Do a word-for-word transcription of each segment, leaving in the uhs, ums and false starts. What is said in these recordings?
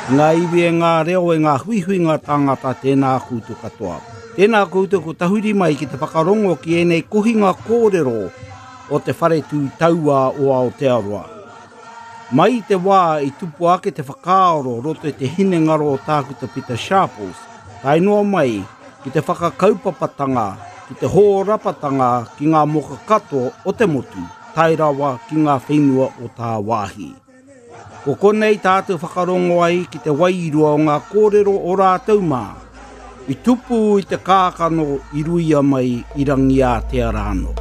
Ngā iwi e ngā reo e ngā huihuinga tāngata tēnā koutou katoa. Tēnā koutou ko tahuri mai ki te whakarongo ki ēnei kohinga kōrero o te whare tū taua o Aotearoa. Mai i te wā i tupu ake te whakaaro roto i te hinengaro o Tākuta Pita Sharples, tae noa mai ki te whakakaupapatanga, ki te hōrapatanga ki ngā moka katoa o te motu, tae rawa ki ngā whenua o tāwāhi. Ko konei tātou whakarongo ai ki te wairua o ngā kōrero o rātou mā. I tupu i te kākano i ruia mai i Rangiātea rānō.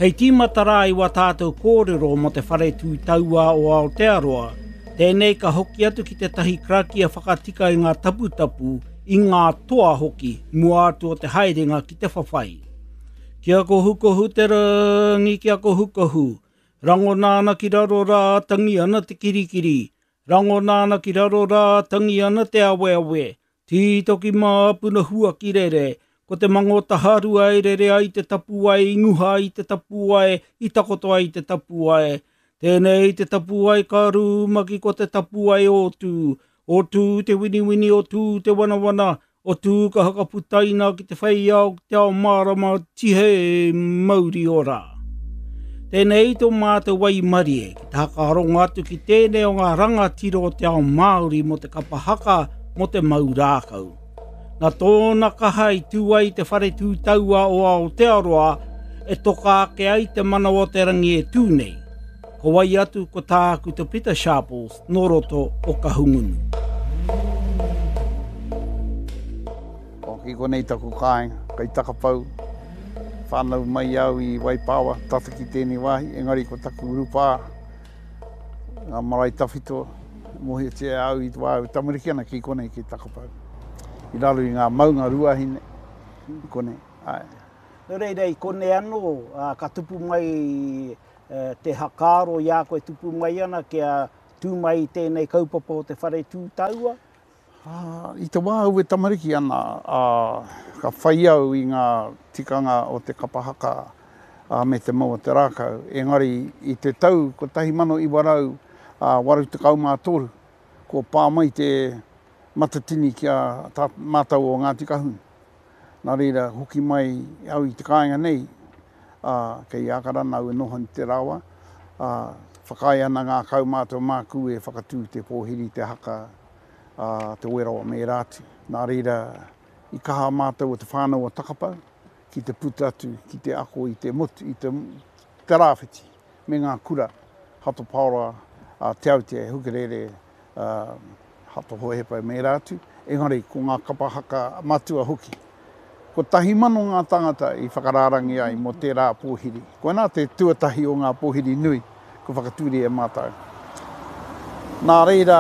Hei tīmata rā i wā tātou kōrero mō te whare tū taua o Aotearoa, tēnei ka hoki atu ki tētahi karakia whakatika i ngā taputapu, i ngā toa hoki, mua atu o te haerenga ki te whawhai. Kia kohukohu te rangi, kia kohukohu. Rangona ana ki raro rā, tangi ana te kirikiri. Rangona ana ki raro rā, tangi ana te aweawe. Tītoki māpuna huaki rere. Ko te mango taharua e rere ai te tapuwae, i nguha ai te tapuwae, i takoto ai te tapuwae. Tēnei te tapuwae ka rūmaki ko te tapuwae o Tū. O Tū te winiwini, o Tū te wanawana, o Tū ka hakaputaina ki te whei ao, ki te ao mārama, tihe mauri ora. Tēnei tō mātou waimarie ki te hakarongo atu ki tēnei o ngā rangatira o te ao Māori mō te kapa haka, mō te mau rākau. Nā tōna kaha i tū ai te whare tū taua o Aotearoa e toka ake ai te manawa o te rangi e tū nei. Ko wai atu ko Tākuta Pita Sharples nō roto o Kahungunu. O, ki konei taku kāinga, kei Takapau, whānau mai au i Waipawa, tata ki tēnei wāhi, engari ko taku urupā, ngā marae tawhito, mōhiotia e au i te wā e tamariki ana ki konei ki Takapau. I raro i ngā maunga Ruahine, i konei, āe. Nō reira, i konei anō, ka tupu mai te hakaaro i a koe tupu mai ana kia tū mai i tēnei kaupapa o te whare tū taua? I te wā au e tamariki ana, ka whai au i ngā tikanga o te kapa haka me te mau o te rākau. Engari i te tau kotahi mano iwa rau waru tekau mā toru, kua pā mai te matatini ki a mātou o Ngāti Kahungunu. Nā reira, hoki mai au i te kāinga nei, ā, kei Ākarana au e noho ana te rawa, ā, whakaae ana ngā kaumātua māku e whakatū te pōhiri, te haka, ā, te werawa me ērā atu. Nā reira, i kaha mātou o te whānau o Takapau ki te puta atu, ki te ako i te motu, i te, te rāwhiti me ngā kura, Hato Paora, ā, Te Aute, Hukarere, ā, Hato Hohepa me ērā atu, engari ko ngā kapa haka matua hoki. Kotahi mano ngā tāngata i whakarārangi ai mō tērā pōhiri. Koinā te tuatahi o ngā pōhiri nui kua whakatūria e mātou. Nā reira,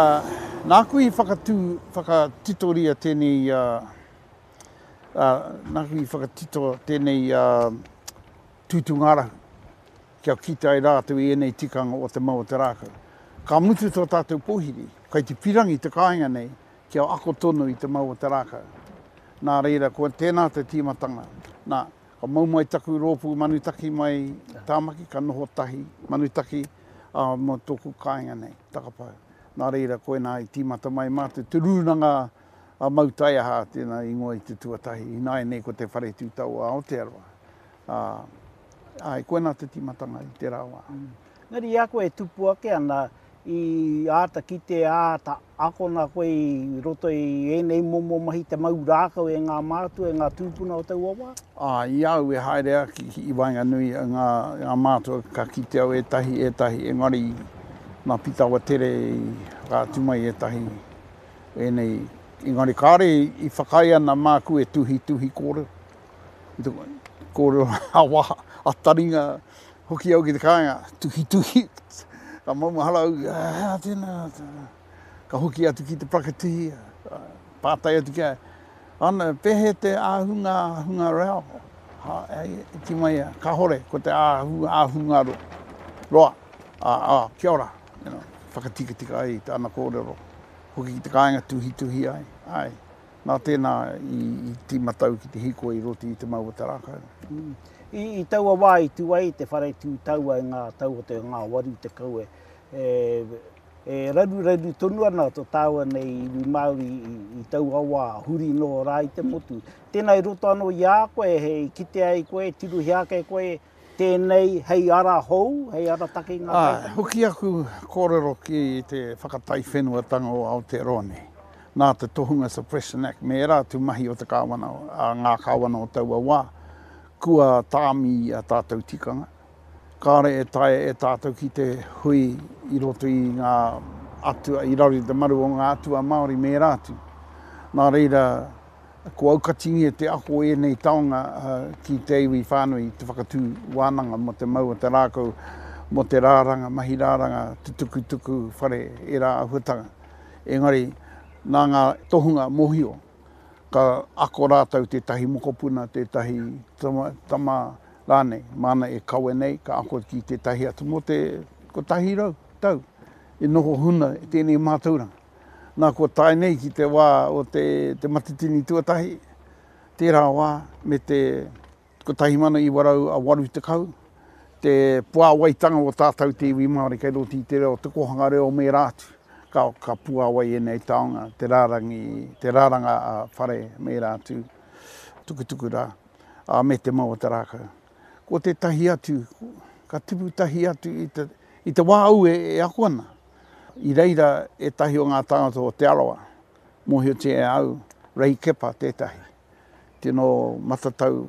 nāku i whakatū, whakatitoria tēnei, nāku i whakatito tēnei tūtūngārahu, kia kite ai rātou i ēnei tikanga o te mau o te rākau. Ka mutu tō tātou pōhiri, kei te pirangi te kāinga nei kia ako tonu i te mau o te rākau. Nā reira, ko tēnā te tīmatanga. Nā, ka mau mai taku rōpū manutaki mai Tāmaki, ka noho tahi manutaki ā, mō tōku kāinga nei, Takapau. Nā reira, koinā i tīmata mai mātou, te rūnanga a Mau Taiaha tēnā ingoa i te tuatahi, ināianei ko te Whare Tū Tau o Aotearoa. Ā, āe, koinā te tīmatanga i tērā wā. Engari i a koe e tupu ake ana, i āta kite, āta akona koe i roto i ēnei momo mahi te mau rākau e ngā mātua, e ngā tūpuna o taua wā? Ā, i a au e haere ake i waenganui i ngā, ngā mātua ka kite au ētahi, ētahi, engari nā Pita Awatere i whakaatu mai ētahi ēnei, engari kāore i whakaae ana māku e tuhituhi kōrero, i te kōrero ā-waha, ā-taringa, hoki au ki te kāinga, tuhituhi, ka maumahara au, ā, tēnā, ka hoki atu ki te parakatihi, pātai atu ki a ia, ana, pēhea te āhunga, āhunga reo? Ha, e kī mai ia, kāhore, ko te āhu, āhunga roa, ā, ā, kia ora, you know, whakatikatika ai i tāna kōrero, hoki ki te kāinga tuhituhi ai, āe. Nā tēnā i tīmata au ki te hīkoi i roto i te mau o te rākau. I, i taua wā i tū ai te whare tū taua i ngā tau o te ngā waru tekau e, E, e raruraru tonu ana tō tāua nei iwi Māori i, i taua wā, huri nō rā i te motu. Tēnā i roto anō i a koe, hei kite ai koe, tirohia ake koe, tēnei hei ara hou, hei ara taki ngā kaitanga? Hoki aku kōrero ki te whakataiwhenuatanga o Aotearoa nei. Nā te Tohunga Suppression Act me ērā atu mahi o te kāwana, a ngā kāwana o taua wā, kua tāmi a tātou tikanga. Kāre e taea e tātou ki te hui i roto i ngā atua, i raro i te maru o ngā atua Māori me ērā atu. Nā reira, ko aukatingia te ako ēnei taonga ki te iwi whānui, te whakatū wānanga mō te mau o te rākau, mō te rāranga, mahi rāranga, te tukutuku whare, ērā āhuatanga. Engari, nā ngā tohunga mōhio, ka ako rātou tētahi mokopuna, tētahi tama, tama rānei, māna e kawe nei, ka ako ki tētahi atu mō te kotahi rau tau e noho huna tēnei mātauranga. Nā, kua tae nei ki te wā o te, te matatini tuatahi, tērā wā me te kotahi mano iwa rau a waru tekau, te puāwaitanga o tātou te iwi Māori kei roto i te reo, te kōhanga reo me ērā atu. Ka, ka puāwai ēnei taonga, te rārangi, te rāranga a whare me ērā atu, tukutuku rā, a me te mau o te rākau. Ko tētahi atu, ka tipu tahi atu i te, i te wā au e, e ako ana. I reira ētahi o ngā tāngata o Te Arawa, mōhiotia e au, Ray Kepa tētahi, tino matatau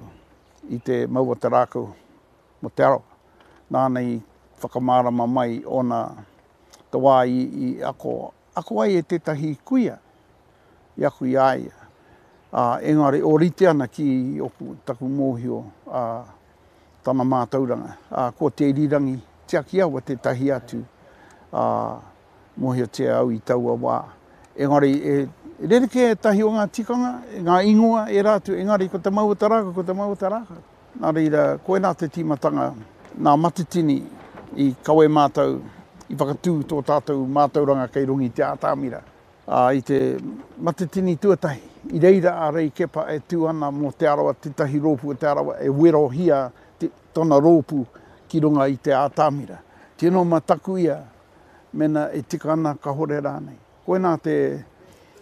i te mau o te rākau mō Te Arawa. Nāna i whakamārama mai ōna te wā i, i ako, ako ai e tētahi kuia, i aku i a ia. Ā, engari ōrite ana ki oku, taku mōhio, ā, tana mātauranga. Ā, ko Te Irirangi Tiakiawa tētahi atu, ā, mōhiotia au i taua wā. Engari, e rerekē ētahi o ngā tikanga, ngā ingoa, ērā atu, engari ko te mau o te rākau, ko te mau o te rākau. Nā reira, koinā te tīmatanga, nā Matatini i kawe mātou, i whakatū tō tātou mātauranga kei runga i te ātamira. Ā, i te Matatini tuatahi, i reira a Rei Kepa e tū ana mō Te Arawa, tētahi rōpū o Te Arawa e werohia te, tōna rōpū ki runga i te ātamira. Tino mataku ia, mena e tika ana kahore rānei. Koinā te,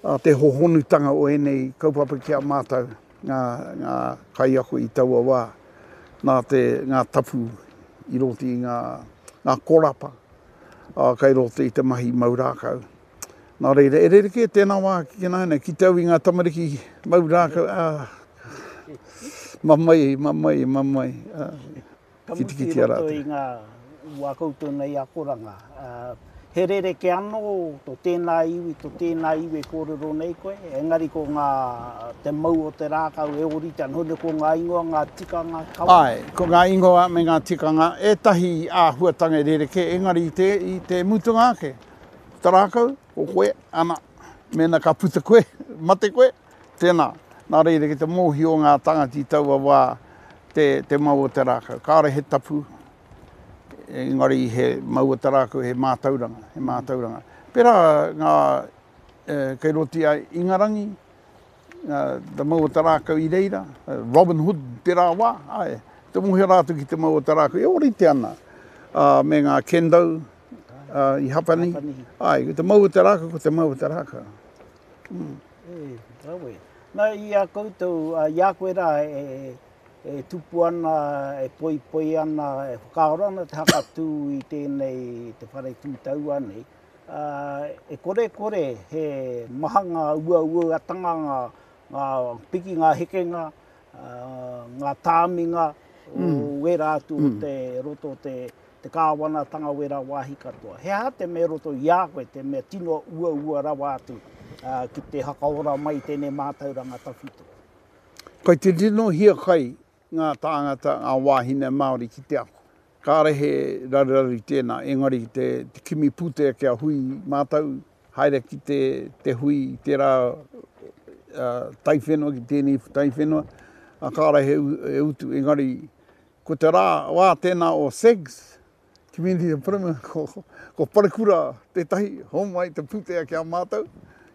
a, te hohonutanga o ēnei kaupapa ki a mātou, ngā, ngā kaiako i taua wā, nā te, ngā tapu i roto i ngā, ngā korapa, ā, kei roto i te mahi mau rākau. Nā reira, e rerekē tēnā wā ki nāianei, ki te au i ngā tamariki mau rākau, ā, mamae, mamae, mamae, ā, Ka mutu i roto i ngā wā koutou nei akoranga, ā, he rerekē anō tō tēnā iwi, tō tēnā iwi e kōrero nei koe, engari ko ngā, te mau o te rākau e ōrite ana, hone ko ngā ingoa, ngā tikanga, kawa. Āe, ko ngā ingoa me ngā tikanga, ētahi āhuatanga e rerekē, engari i te, i te mutunga ake, ko te rākau, ko koe, ana, mēnā ka puta koe, mate koe, tēnā. Nā reira, ki te mōhio ngā tāngata i taua wā, te, te mau o te rākau. Kāore he tapu, engari he mau o te rākau, he mātauranga, he mātauranga. Pērā ngā, e, kei roto i a Ingarangi, ngā, te mau o te rākau i reira, Robin Hood tērā wā, āe, te mōhio rātou ki te mau o te rākau, e ōrite ana, ā, me ngā kendo, ā, i Hapani, āe, ko te mau o te rākau, ko te mau o te rākau. Mm. E, rawe. Nā, i a koutou, i a koe rā, e, e tupu ana, e poipoi ana, e whakaaro ana te hakatū i tēnei, te whare tūtaua nei, ā, e kore kore he maha ngā uauatanga, ngā, ngā piki, ngā hekenga, ā, ngā tāminga o wērā atu o te roto o te, te kāwanatanga wērā wāhi katoa. He aha te mea roto i a koe, te mea tino uaua rawa atu ā, ki te hakaora mai i tēnei mātauranga tawhito? Kei te tino hiakai ngā tāngata, ngā wāhine Māori ki te ako. Kāre he raruraru i tēnā, engari te, te kimi pūtea kia hui mātou, haere ki te, te hui i tērā uh, taiwhenua ki tēnei taiwhenua, a kāre he, he utu, engari ko te rā, wā tēnā o S E G S, Community of Plymouth, ko, ko Parekura tētahi, homai te pūtea ki a mātou,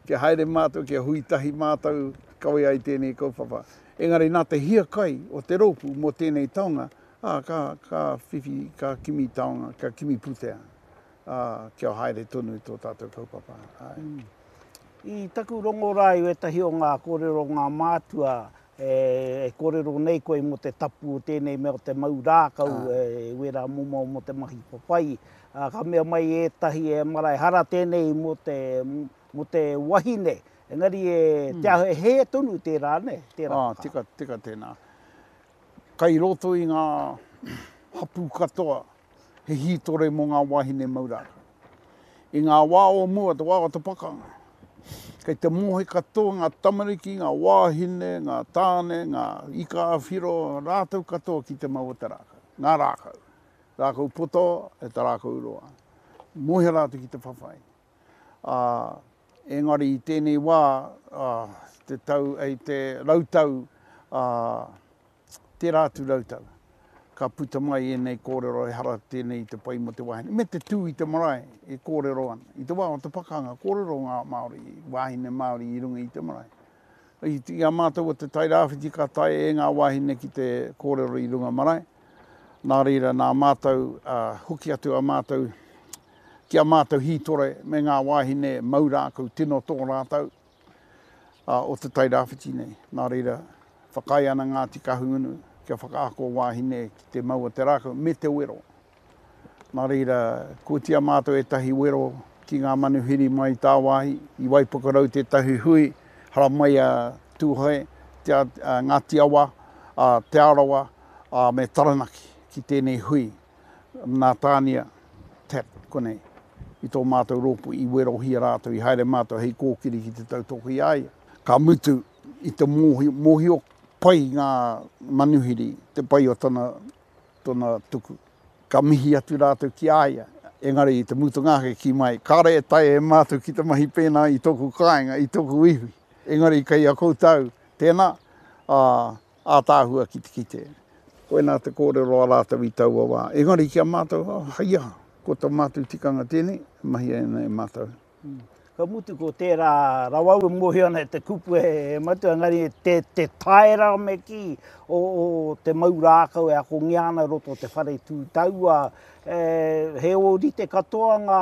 kia haere mātou, kia hui tahi mātou, kawe ai tēnei kaupapa. Engari nā te hiakai o te rōpū mō tēnei taonga, ā, ka, ka whiwhi, ka kimi taonga, ka kimi pūtea. ā, kia haere tonu tō tātou kaupapa. Āe. Mm. I taku rongo rā i wētahi o ngā kōrero o ngā mātua, e, e kōrero nei koe mō te tapu o tēnei mea o te mau rākau, e, wērā momo mō te mahi whawhai. Ā, ka mea mai ētahi e mara, ehara tēnei mō te, mō te wahine, engari e, te aho, e hē tonu tērā, nē, tērā Ā, whakaaro. tika, tika tēnā. Kai roto i ngā hapū katoa, he hītore mō ngā wāhine mau rākau. I ngā wā o mua, te wā o te pakanga, kei te mohe katoa ngā tamariki, ngā wāhine, ngā tāne, ngā ika ā-whiro, rātou katoa ki te mau o te rākau, ngā rākau. Rākau poto e te rākau roa. Mohe rātou ki te whawhai. Ā, engari i tēnei wā, ā, te tau, ei te rautau, ā, tērā atu rautau, ka puta mai ēnei kōrero ehara tēnei i te pai mō te wāhine, me te tū i te marae e kōrero ana. I te wā o te pakanga, kōrero ngā Māori, wāhine Māori i runga i te marae. I, i a mātou o Te Tairāwhiti ka taea e ngā wāhine ki te kōrero i runga marae. Nā reira, nā mātou, uh, hoki atu a mātou, ki a mātou hītore me ngā wāhine mau rākau tino tō rātou, uh, o Te Tairāwhiti nei. Nā reira, whakaae ana Ngāti Kahungunu kia whakaako wāhine ki te mau o te rākau me te wero. Nā reira, kotia mātou ētahi wero ki ngā manuhiri mai tāwāhi, i Waipukurau tētahi hui, haramai a Tūhoe, te, a, a Ngāti Awa, a Te Arawa, a me Taranaki ki tēnei hui. Nā Tānia Tap konei, i tō mātou rōpū i werohia rātou, i haere mātou hei kōkiri ki te tautoko i a ia. Ka mutu i te mōhio, mōhio pai ngā manuhiri, te pai o tana, tona tuku. Ka mihi atu rātou ki a ia, engari i te mutunga ake ki mai, kāre e taea e mātou ki te mahi pēnā i tōku kāinga, i tōku iwi. Engari kei a koutou, tēnā, ā, ātaahua ki te kite. Koinā te kōrero a rātou i taua wā. Engari ki a mātou, oh, hei aha, ko tā mātou tikanga tēnei, mahia ana e mātou. Ka mutu ko tērā rawa au e mōhio ana e te kupu e matua, engari te, te taera me kī o, o te mau rākau e akongia ana roto o te whare tū taua, e, he ōrite katoa ngā,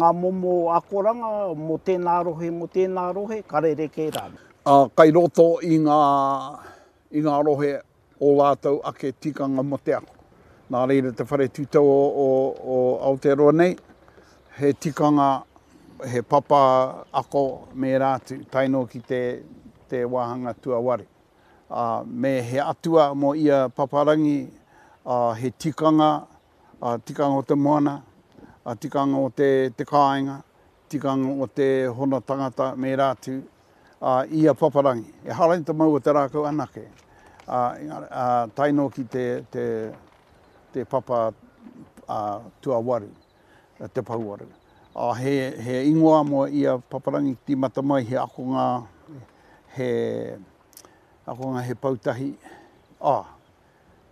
ngā momo akoranga mō tēnā rohe, mō tēnā rohe, ka rerekē rānei. Ā, kai roto i ngā, i ngā rohe o rātou ake tikanga mō te ako. Nā reira te whare tūtau o, o, o Aotearoa nei, he tikanga, he papa ako me ērā atu, tae noa ki te, te wāhanga tuawaru. Ā, me he atua mō ia paparangi, ā, he tikanga, ā, tikanga o te moana, ā, tikanga o te, te kāinga, tikanga o te hono tangata me ērā atu, ā, ia paparangi. Ehara i te mau o te rākau anake, ā, ā, tae noa ki te, te, te papa ā, tuawaru, te pouwaru. Ā, he, he ingoa mō ia paparangi tīmata mai he akonga, he akonga he poutahi, ā,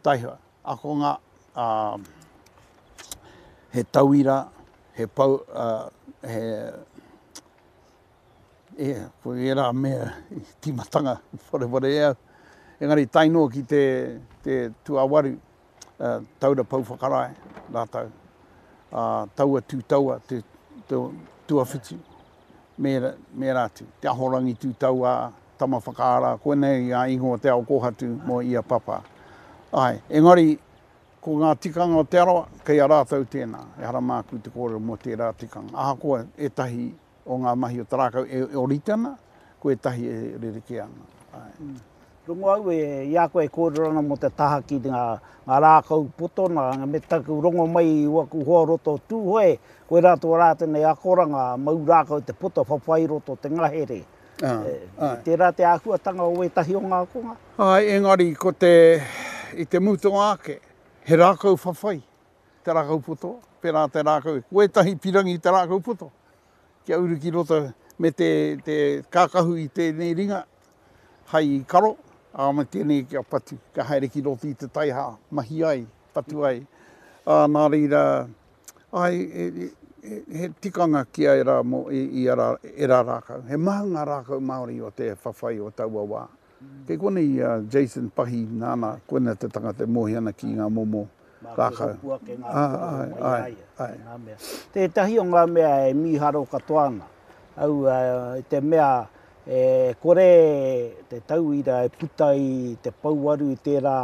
taihoa, akonga, ā, he tauira, he pou, ā, he, e, ko ērā mea i tīmatanga wareware e au. Engari tae noa ki te, te tuawaru, uh, taura pou whakarae rātou, uh, taua tū taua, te, te tuawhitu, me, me ērā atu. Te ahorangi tū taua, tama whakaara, koinei ngā ingoa te ao kōhatu mō ia papa. Ai, engari, ko ngā tikanga o Te Arawa, kei a rātou tēnā. Ehara māku te kōrero mō tērā tikanga. Ahakoa ētahi o ngā mahi o te rākau e ōrite ana, ko ētahi e rerekē ana. Ai. Mm. Rongo au e, i a koe e kōrero ana mō te taha ki ngā, ngā rākau poto, nā, me taku rongo mai i waku hoa roto o Tūhoe, koirā tō rātou nei akoranga, mau rākau te poto whawhai roto te ngahere. Ah, E, tērā te āhuatanga o ētahi o ngā akonga? Ai, engari ko te, i te mutunga ake, he rākau whawhai te rākau poto, pērā te rākau, ko ētahi pirangi te rākau poto, kia uru ki roto me te, te kākahu i tēnei ringa, hai karo, ā, me tēnei kia patu, kia haere ki roto i te taiha, mahi ai, patu ai. Ā, nā reira, ai, e, e, he tikanga ki a ērā mō, i, i ara, ērā rākau. He maha ngā rākau Māori o te whawhai o taua wā. Kei konei a Jason Pahi nāna, koina te tangata e mōhio ana ki ngā momo rākau. Mā te hopu ake ngā kōrero mai a ia, ngā mea. Tētahi o ngā mea e mīharo katoa ana, au i te mea e kore te tauira e puta i te pouaru i tērā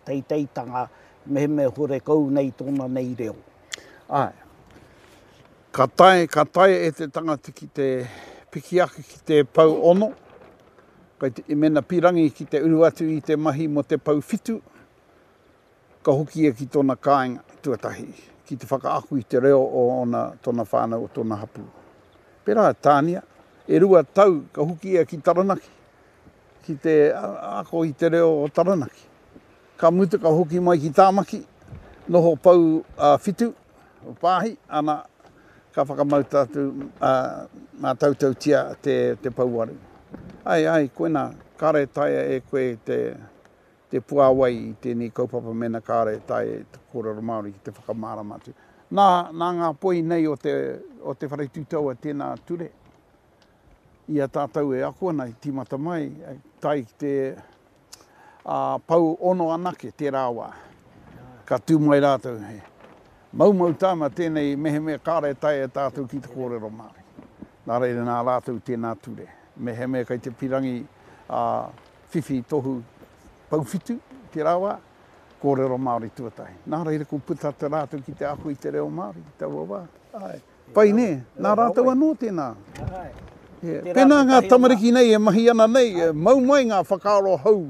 teiteitanga mehemea horekau nei tōna nei reo. Āe. Ka tae, ka tae e te tangata ki te piki ake ki te pou ono, kai te, mena pirangi ki te uru atu i te mahi mo te pou whitu, ka hoki ia ki tōna kāinga tuatahi, ki te whakaako i te reo o ona, tōna whānau, o tōna hapū. Pērā Tānia, e rua tau ka hoki ia ki Taranaki, ki te ako i te reo o Taranaki. Ka mutu ka hoki mai ki Tāmaki, noho pou uh, whitu, o pāhi, ana, ka whakamauta atu uh, mātautautia te, te pouaru. Ai, ai, koina, kāre taea e koe te, te puāwai i tēnei kaupapa mena kāre taea te kōrero Māori ki te whakamārama atu. Nā, nā ngā poi nei o te, o te whare tūtaua tēnā ture, i a tātou e ako ana i tīmata mai, tae ki te uh, pau ono anake tērā wā. Ka tū mai rātou, he maumau tāma tēnei mehemea kāre taea e tātou ki te kōrero Māori. Nā reira nā rātou tēnā ture. Mehemea kai te pirangi uh, whiwhi tohu pauwhitu tērā wā, kōrero Māori tuatahi. Nā reira ko puta te rātou ki te ako i te reo Māori ki taua wā. Ai. Pai nē, nā rātou anō tēnā. Ai. Yeah. Pēnā ngā tamariki nei e mahi ana nei, e mau mai ngā whakaaro hou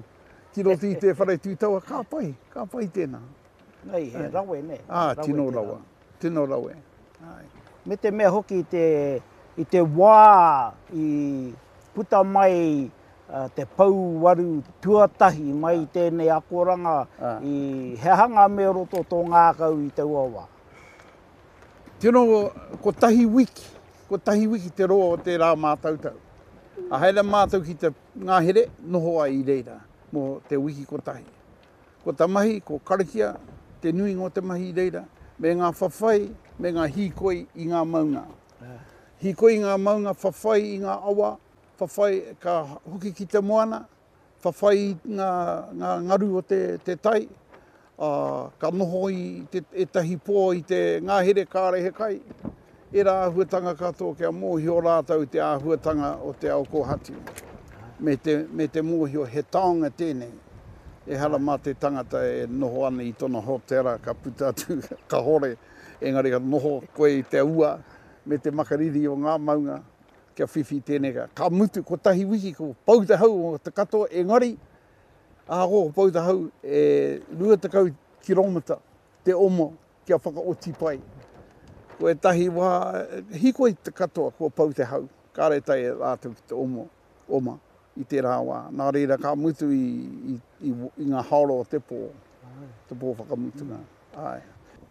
ki roto i te whare tūtaua, ka pai, ka pai tēnā. Nei, he rawe nē. Ah, tino rawa, tino rawe. Ai. Me te mea hoki i te, i te wā i puta mai uh, te pouaru tuatahi mai i tēnei akoranga, Ah. i he aha ngā mea roto tō ngākau i taua wā? Tino, kotahi wiki, kotahi wiki te roa o te rā mātautau. A haere mātou ki te ngahere, noho ai i reira, mō te wiki kotahi. Ko ta mahi, ko karakia, te nuinga o te mahi i reira, me ngā whawhai, me ngā hīkoi i ngā maunga. Hīkoi i ngā maunga, whawhai i ngā awa, whawhai ka hoki ki te moana, whawhai i ngā, ngā ngaru o te, te tai, uh, ka noho i te, ētahi pō i te ngahere kāre he kai. Era āhuatanga katoa kia mōhio rātou te āhuatanga o te ao kōhatu. Me te, me te mōhio he taonga tēnei. Ehara mā te tangata e noho ana i tōna hotera ka puta atu, ka hore. Engari ka noho koe i te ua me te makariri o ngā maunga kia whiwhi tēnei. Ka, ka mutu kotahi wiki ko pau te hau o te katoa, engari ahakoa ko pau te hau e rua tekau kiromita te omo kia whakaoti pai. Ko ētahi wā, hīkoi te katoa kua pau te hau, kāre tae e rātou ki te omo, oma i tērā wā. Nā reira ka mutu i, i, i, i ngā haoro o te pō, te pō whakamutunga. Ai.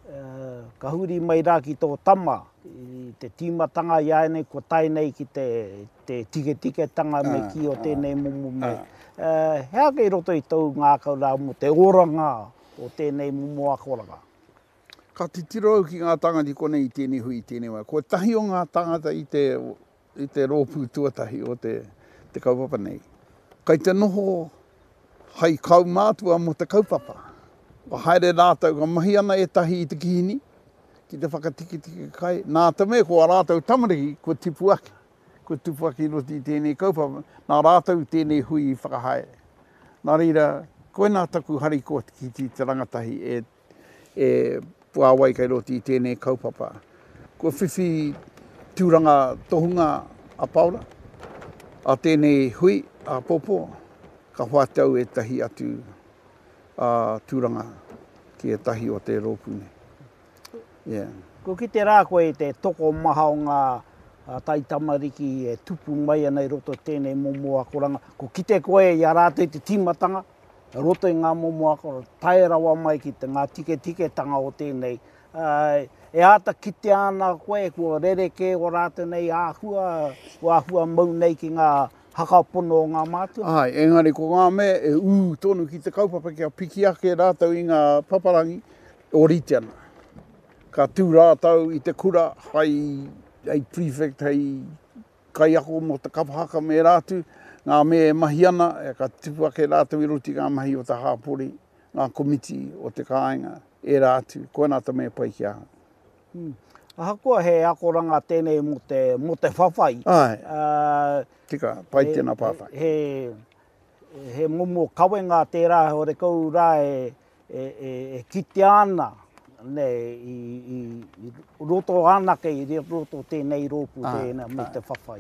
Uh, ka huri mai rā ki tō tama, i te tīmatanga i a nei, ko tae nei ki te, te tiketiketanga me ki o tēnei momo me. Uh, he ake i roto i tōu ngākau rā mō te oranga o tēnei momo akoranga? Ka titiro au ki ngā tāngata i konei i tēnei hui i tēnei wā. Ko tahi o ngā tāngata i te, i te rōpū tuatahi o te, te kaupapa nei. Kai te noho hai kaumātua mō te kaupapa. Ka haere rātou, ka mahi ana ētahi i te kihini, ki te whakatiketike kai. Nā te mea ko a rātou tamariki, kua tipu ake. Kua tupu ake i roto i tēnei kaupapa. Nā rātou tēnei hui i whakahaere. Nā reira, koinā taku harikoa ki te rangatahi e, e puāwai kai roto i tēnei kaupapa. Kua whiwhi tūranga tohunga a Paora, a tēnei hui, a Pōpō, ka hoatu ētahi atu a tūranga ki ētahi o te rōpū nei. Yeah. Ko ki te rā koe te tokomaha o ngā taitamariki e tupu mai ana i roto tēnei momo akoranga. Ko kite koe i a rātou i te tīmatanga, roto i ngā momo akoranga, tae rawa mai ki te ngā tiketiketanga o tēnei. Uh, e āta kitea ana koe, kua rerekē o rātou nei āhua, kua āhua mau nei ki ngā hakapono o ngā mātua. Ai, engari ko ngā mea e ū tonu ki te kaupapa kia piki ake rātou i ngā paparangi o rite ana. Ka tū rātou i te kura hai, hei prefect, hei kaiako mō te kapa haka me rātou, ngā mea e mahi ana, e ka tupu ake rātou i roto i ngā mahi o te hāpori, ngā komiti o te kāinga, ērā atu. Koinā te mea pai ki ahau. Hmm. Ahakoa he akoranga tēnei mō te, mō te whawhai. Āe. Uh, Tika, pai tēnā pātai. He, he, he momo kawenga tērā horekau rā e, e, e, e kitea ana, ne, i, i, i roto anake, i roto tēnei rōpū tēnā me te whawhai.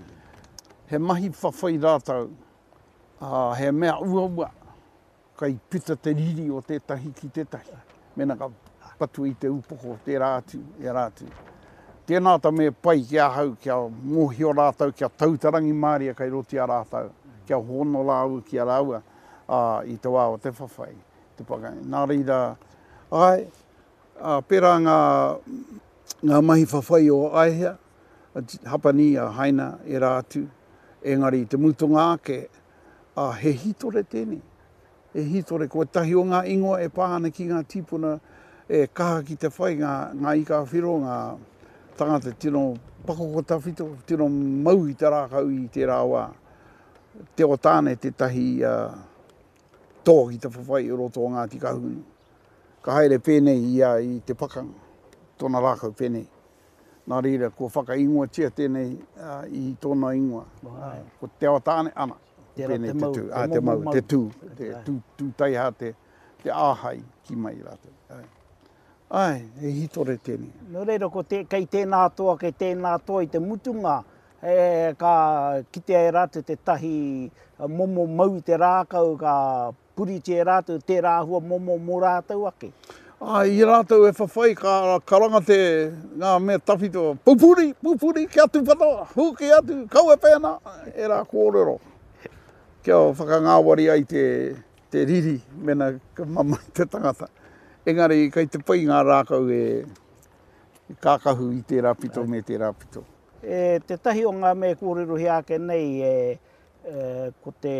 He mahi whawhai rātou, uh, he mea uaua, kai pita te riri o tētahi ki tētahi. Mena ka patu i te upoko, tērā atu, ērā atu. Tēnā ta me pai ki ahau, kia mōhio rātou, kia tautarangi māria kai roto i a rātou, kia hono rāua ki a rāua uh, i te wā o te whawhai. Te pakai. Nā reira, ai, uh, pērā ngā, ngā mahi whawhai o Aehea, Hapani, a Haina, ērā atu, engari te mutunga ake, uh, he hītore tēnei. He hītore, ko ētahi o ngā ingoa e pā ana ki ngā tīpuna e kaha ki te whai, ngā, ngā ika whiro, ngā tangata tino pakoko tawhito, tino mau i te rākau i tērā wā. Te o tāne tētahi uh, tō ki te whawhai i roto o Ngāti Kahungunu. Ka haere pēnei ia i te pakanga, tōna rākau pēnei. Nā reira, kua whakaingoatia tēnei uh, i tōna ingoa. Uh, ko Te o Tāne, ana, pēnei te tū. Ah, te mau, te tū, te tū, tū taiha, te, te āhai ki mai rātou. Ai. Ai, he hītore tēnei. Nō reira, ko te, kei tēnā toa, kei tēnā toa i te mutunga, e, ka kitea e rātou tētahi momo mau i te rākau, ka puritia e rātou tērā āhua momo mō rātou ake. Ai, i rātou e whawhai, ka karanga te ngā mea tawhito, pupuri, pupuri, kia tūpato, huki atu, kau e pēnā, ērā kōrero. Kia whakangāwari ai te, te riri, mena ka mamae te tangata. Engari, kei te pai ngā rākau e kākahu i tērā pito me tērā pito. E, tētahi o ngā mea kōrerohia ake nei, e, e, ko te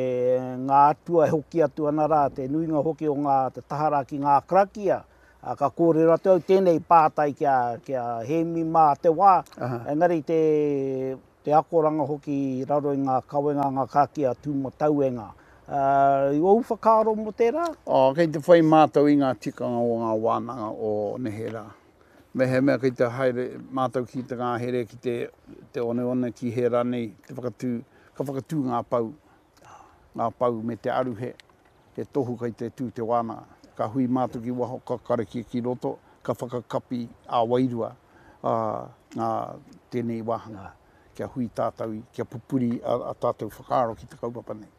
ngā atua e hoki atu ana rā, te nuinga hoki o ngā te taha rā ki ngā karakia. A, ka kōrero atu au tēnei pātai kia, kia Hēmi mā te wā. Aha. Engari te, te akoranga hoki i raro i ngā kawenga ngā karakia tūmatauenga. Uh, i ōu whakaaro mō tērā? Oh, kei te whai mātou i ngā tikanga o ngā wānanga o neherā. Mehemea kei te haere mātou ki te ngāhere, ki te, te oneone, ki he rānei, te whakatū, ka whakatū ngā pau, ngā pau me te aruhe, he tohu kei te tū te wānanga. Ka hui mātou ki waho, ka karakia ki roto, ka whakakapi ā wairua uh, ngā tēnei wāhanga, kia hui tātou, kia pupuri a, a tātou whakaaro ki te kaupapa nei.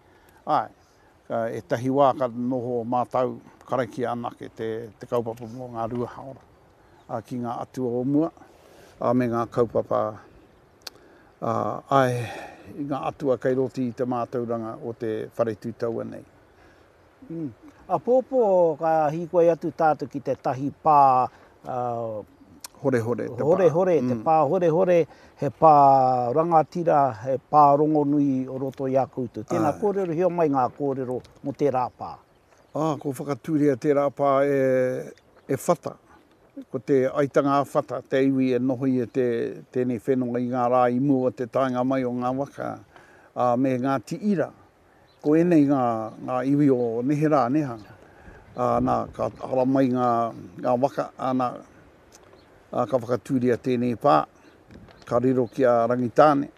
Ai, ka ētahi wā ka noho mātou karakia anake te, te kaupapa mō ngā rua haora a, ki ngā atua o mua, a, me ngā kaupapa a, ai, i ngā atua kei roto i te mātauranga o te whare tūtaua nei. Mm. Apōpō ka hīkoi atu tātou ki tētahi pā uh, Horehore te pā. Horehore, te pā horehore, he pā rangatira, he pā rongonui o roto i a koutou. Tēnā kōrerohia mai ngā kōrero mō tērā pā. Ah, ko whakatūria tērā pā e, e Whata. Ko te aitanga a Whata, te iwi e noho i te, tēnei whenua i ngā rā i mua te taenga mai o ngā waka, uh, me Ngāti Ira. Ko ēnei ngā, ngā iwi o neherā, neha. Uh, nā, ka hara mai ngā, ngā waka, ana, uh, ka whakatūria tēnei pā, ka riro ki a Rangitāne.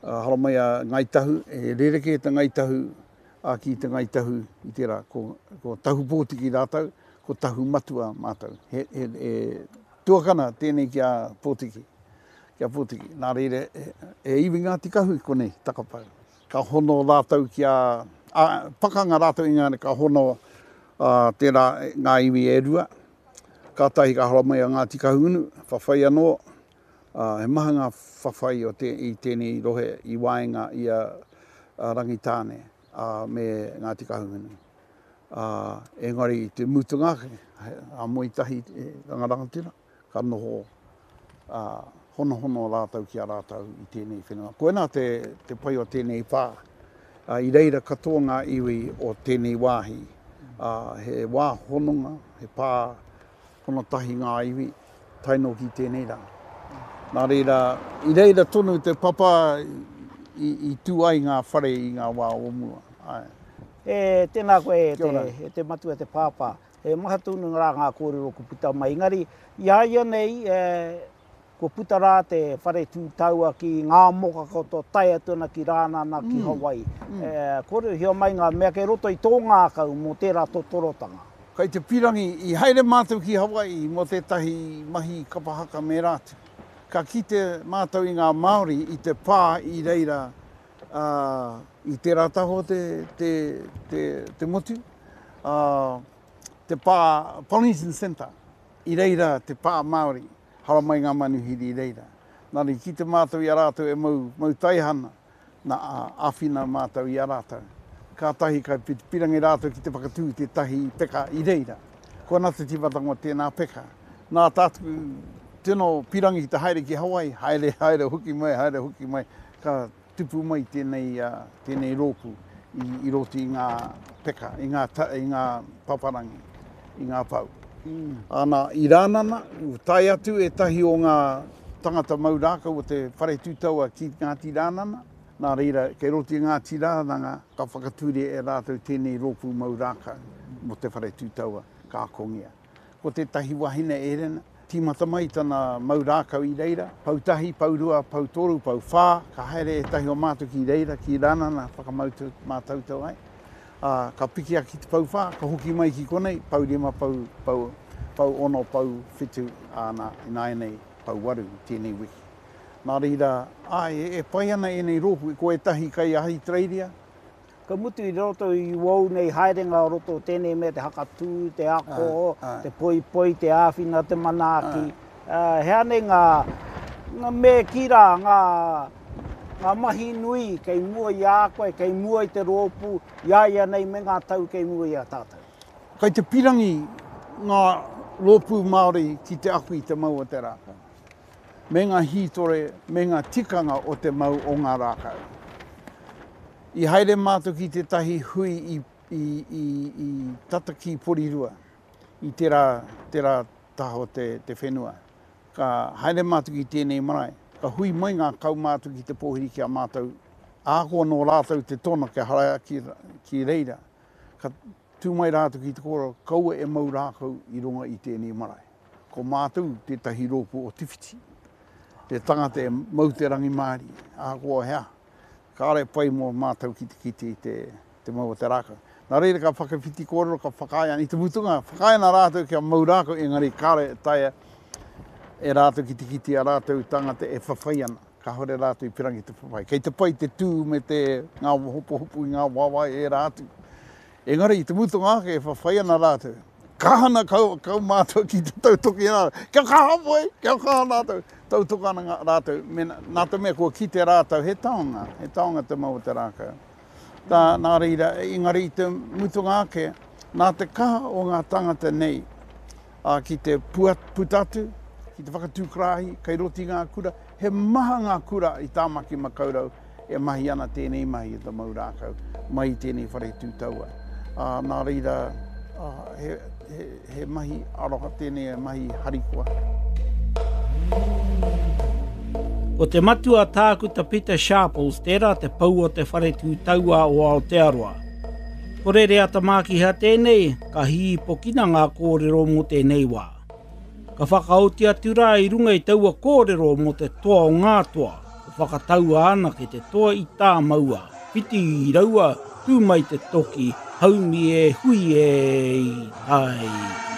Uh, hara mai a Ngāi Tahu, e rerekē te Ngāi Tahu a ki te Ngāi Tahu i tērā, ko, ko Tahu Pōtiki rātou, ko Tahu Matua mātou. He, he, he tuakana tēnei ki a Pōtiki, ki a Pōtiki. Nā reira, e, e iwi Ngāti Kahu i konei, Takapau. Ka hono rātou ki a, a pakanga rātou i ngā, ka hono uh, tērā ngā iwi e rua. Kātahi ka hara mai a Ngāti Kahungunu, whawhai anō, uh, he maha ngā whawhai o te, i tēnei rohe i waenga i a, a Rangitāne uh, me Ngāti Kahungunu. Uh, engari i te mutunga ake, a moe tahi e rangarangatira, ka noho uh, honohono rātou ki a rātou i tēnei whenua. Koinā te, te pai o tēnei pā. Uh, i reira katoa ngā iwi o tēnei wāhi. Uh, he wā hononga, he pā hono tahi ngā iwi, tae noa ki tēnei rā. Nā reira, i reira tonu te papa i, i tū ai ngā whare i ngā wā o mua. Ai. E, tēnā koe e Kia ora. te, e te matua, te pāpā. He maha tonu rā ngā kōrero ko puta mai. Engari, i a ia nei, e, ko puta rā te whare tūtaua ki ngā moka katoa tae atu ana ki Rānana, ki mm. Hawaii. Mm. E, kōrerohia mai ngā mea kei roto i tō ngākau mō tērā totorotanga. Kai te pirangi, i haere mātou ki Hawaii mō tētahi mahi kapa haka me rātou. Ka kite mātou i ngā Māori i te pā i reira uh, i tērā taho te, te, te, te motu, uh, te pā Polynesian Centre, i reira te pā Māori, haramai ngā manuhiri i reira. Nā i kite mātou i a rātou e mau, mau taihana, nā āwhina mātou i a rātou. Kātahi kai pirangi rātou ki te whakatū tētahi peka i reira. Ko ana te tīmatanga o tēnā peka. Nā tātou tino pirangi ki te haere ki Hawaii, haere, haere, hoki mai, haere, hoki mai, ka tupu mai tēnei, uh, tēnei rōpū i, i roto i ngā peka, i ngā, ta, i ngā paparangi, i ngā pau. Mm. Ana, i Rānana, tae atu ētahi o ngā tangata mau rākau o te whare tūtaua ki Ngāti Rānana. Nā reira, kei roto i Ngāti Rānana, ka whakatūria e rātou tēnei rōpū mau rākau mō te whare tūtaua ka akongia. Ko tētahi wahine Erena, tīmata mai tana mau rākau i reira, pau tahi, pau rua, pau toru, pau whā, ka haere ētahi o mātou ki reira, ki Rānana, whakamātautau ai. Uh, ka piki ake ki te pau whā, ka hoki mai ki konei, pau rima, pau, pau, pau ono, pau whitu, āna, ināianei, pau waru, tēnei wiki. Nā reira, ai, e, e pai ana ēnei rōpū, ko ētahi kai Ahitereiria. Ka mutu i roto i wau nei haerenga o roto tēnei mea te hakatū, te ako, Ai, ai. te poipoi, te āwhina, te manaaki. Ai. Uh, he anei ngā, ngā me ki rā, ngā, ngā mahi nui kei mua i a koe, kei mua i te rōpū, i a ia nei me ngā tau kei mua i a tātou. Kai te pirangi ngā rōpū Māori ki te ako i te mau o te rākau. Me ngā hītore, me ngā tikanga o te mau o ngā rākau. I haere mātou ki tētahi hui i, i, i, i tata ki Porirua, i tērā, tērā taha o te, te whenua. Ka haere mātou ki tēnei marae, ka hui mai ngā kaumātua ki te pōhiri ki a mātou. Ahakoa nō rātou te tono kia haere ki, ki reira, ka tū mai rātou ki te kōrero, kaua e mau rākau i runga i tēnei marae. Ko mātou tētahi rōpū o Te Whiti, te tangata e mau te rangimārie, ahakoa hea. Kāre pai mō mātou ki te kite i te, te mau o te rākau. Nā reira ka whakawhiti kōrero, ka whakaae ana i te mutunga, whakaae ana rātou kia mau rākau, engari kāre taea e rātou ki te kite a rātou tangata e whawhai ana. Kāhore rātou i pirangi te whawhai. Kei te pai te tū me te ngā hopuhopu i ngā wawae e rā atu. Engari i te mutunga ake e whawhai ana rātou. Kaha ana kau, kau mātou ki te tautoki rātou. Kia kaha moe, kia kaha rātou. Tautoka ana ngā rātou. Me, nā te mea kua kite rātou, he taonga, he taonga te mau o te rākau. Tā, nā reira, engari i te mutunga ake, nā te kaha o ngā tangata nei a, ki te pua, puta atu, ki te whakatū karahi, kei roto i ngā kura, he maha ngā kura i Tāmaki Makaurau e mahi ana tēnei mahi i te mau rākau, mai i tēnei whare tūtaua. Uh, nā reira, uh, he, he, he mahi aroha tēnei, he mahi harikoa. Ko te matua tākuta Peter Sharples, tērā te pou o te whare tūtaua o Aotearoa. Ko Rereata Mākiha tēnei, ka hīpokina ngā kōrero mō tēnei wā. Ka whakaoti atu rā i runga i taua kōrero mō te toa o ngā toa, ko whakataua ana ki te toa i tāmaua, whiti i raua, tū mai te toki, haumi e hui e i tai.